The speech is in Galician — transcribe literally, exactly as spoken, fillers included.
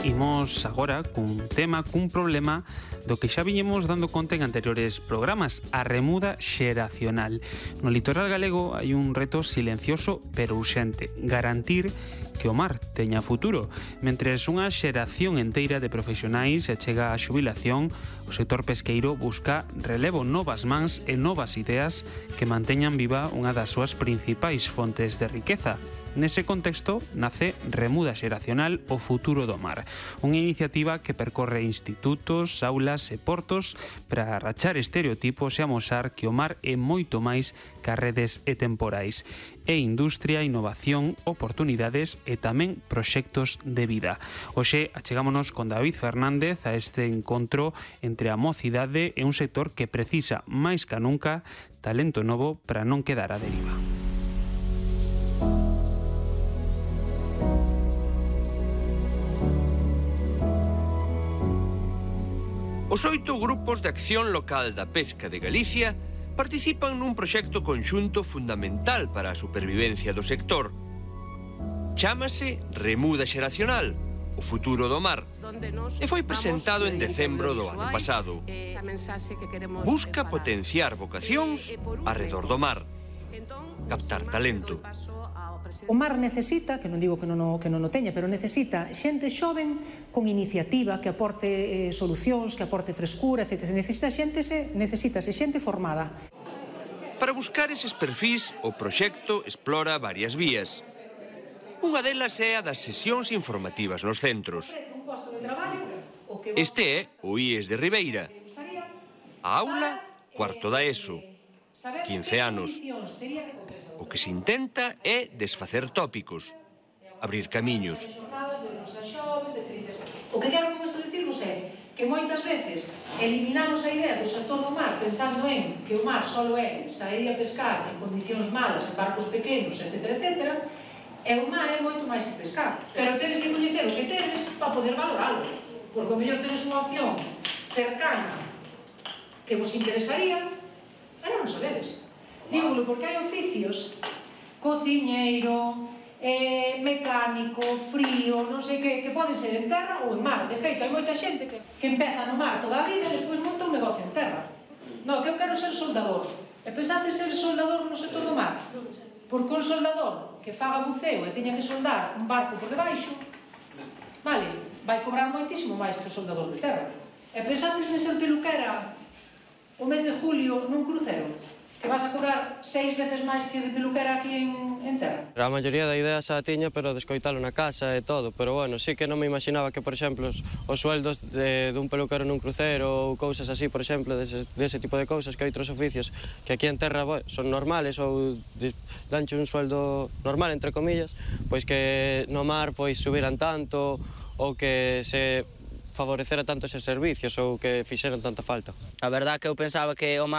Imos agora cun tema, cun problema do que xa viñemos dando conta en anteriores programas, a remuda xeracional. No litoral galego hai un reto silencioso pero urxente, garantir que o mar teña futuro. Mentres unha xeración enteira de profesionais se chega á xubilación, o sector pesqueiro busca relevo, novas mans e novas ideas que manteñan viva unha das súas principais fontes de riqueza. Nese contexto nace Remuda Xeracional, o futuro do mar, unha iniciativa que percorre institutos, aulas e portos para rachar estereotipos e amosar que o mar é moito máis que as redes e temporais. É industria, innovación, oportunidades e tamén proxectos de vida. Hoxe achegámonos con David Fernández a este encontro entre a mocidade e un sector que precisa máis que nunca talento novo para non quedar a deriva. Os oito grupos de acción local da pesca de Galicia participan nun proxecto conxunto fundamental para a supervivencia do sector. Chámase Remuda Xeracional, o futuro do mar, e foi presentado en decembro do ano pasado. Busca potenciar vocacións arredor do mar, captar talento. O mar necesita, que non digo que non o, que non o teña, pero necesita xente xoven con iniciativa que aporte eh, solucións, que aporte frescura, etcétera. Necesita xente, se, necesitase xente formada. Para buscar eses perfís, o proxecto explora varias vías. Unha delas é a das sesións informativas nos centros. Este é o I E S de Ribeira. A aula, cuarto da ESO, quince anos. O que se intenta é desfacer tópicos, abrir camiños. O que quero con isto dicirvos é que moitas veces eliminamos a idea do sector do mar pensando en que o mar só é sair a pescar en condicións malas, en barcos pequenos, etcétera, etcétera, e o mar é moito máis que pescar. Pero tedes que coñecer o que tedes para poder valoralo, porque o mellor tedes unha opción cercana que vos interesaría e non o sabedes. Dígolo porque hai oficios, cociñeiro, eh, mecánico, frío, non sei que, que poden ser en terra ou en mar. De feito, hai moita xente que, que empeza no mar toda a vida e despois monta un negocio en terra. Non, que eu quero ser soldador. E pensaste ser soldador no sector do mar? Porque un soldador que faga buceo e teña que soldar un barco por debaixo, vale, vai cobrar moitísimo máis que o soldador de terra. E pensaste en ser peluquera o mes de julio nun crucero? Que vas a cobrar seis veces máis que de peluquera aquí en, en terra. A maioría da idea xa tiña, pero descoitalo na casa e todo. Pero bueno, sí que non me imaginaba que, por exemplo, os, os sueldos de, dun peluquero nun crucero ou cousas así, por exemplo, dese, dese tipo de cousas que hai outros oficios que aquí en terra bueno, son normales ou danche un sueldo normal, entre comillas, pois que no mar pois subiran tanto ou que se favorecera tanto eses servicios ou que fixeran tanta falta. A verdad que eu pensaba que o mar